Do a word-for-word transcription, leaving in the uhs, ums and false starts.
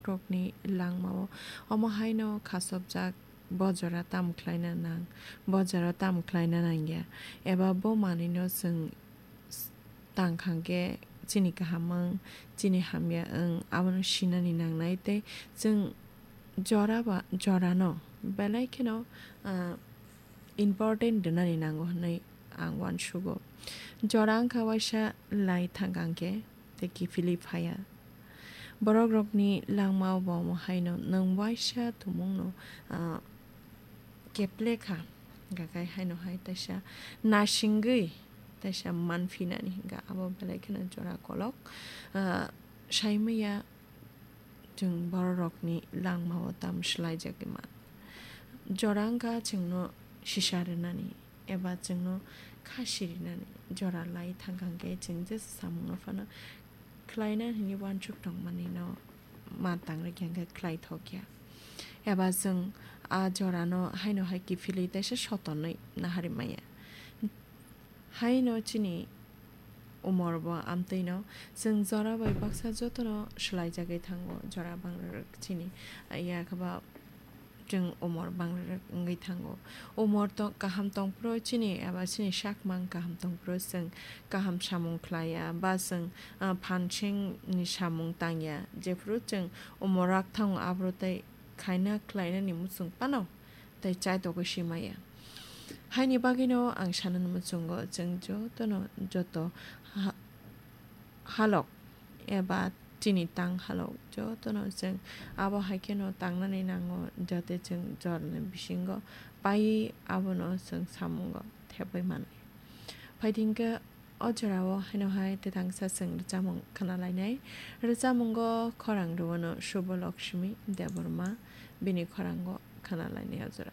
rokni langmao omo haino khasopjak, bo jora tamo khlaina nang, bo jora tamo khlaina nangya, eba bo manwino chwng tang kha khe chini kaham wng, chini hamya wng, abono sinani nangnai tei chwng jora ba, jorano belai kheno, ah, important rwnani nango hwnwi ang uansugo. Jora wngkha waisa lai thangkang khe tei kiphilwi phaiya. Borokrokni langmao bo omo haino nwng waisa tumungno, ah, keple kha, hwnkha khe haino hai taisa nasingwi taisa manphinani hwnkha, abo belai kheno jora kolok, ah, saimaya. Chwng bororokni langmao tamo swlaijagwi man. Jora wngkha chwngno sisa rwnani eba chwngno kha sirinani. Jora lai thangkang khe chwng jesa samungno phano khlaina hwnwi uansuk tongmanino ma tang rwkhe hwnkhe khlai thokya. Eba chwng a jorano haino hai kiphilwi teisa sotonwi naharwi maya. Haino chini umor bo amtwino chwng jora bai baksa jotono swlaijagwi thango, jora bangrwrwk chini, ya khe ba chwng umor bangrwrwk wngwi thango. Umor to kaham tongphuru chini eba chini sakmang kaham tongphuru chwng kaham samung khlaiya ba chwng, ah, phansingni samung tangya, jephuru chwng umor rak thango aphuru tei khaina khlainani muchung phano tei chaitokgwi si maya. Haini bagwino ang sanani muchungo chwng jotono joto ha-, halok eba chini tang halok jotono chwng abo hai kheno tangnani nango, jate chwng jorani bisingo paiwi abono chwng samungo thepwi mannai. Phaidi hwnkhe o jorao haino hai tei tangsa chwng rwchapmung khna lainai. Rwchapmungo khorang rwano Subha Lakshmi Debbarma, bini khorango khna lainai o jora.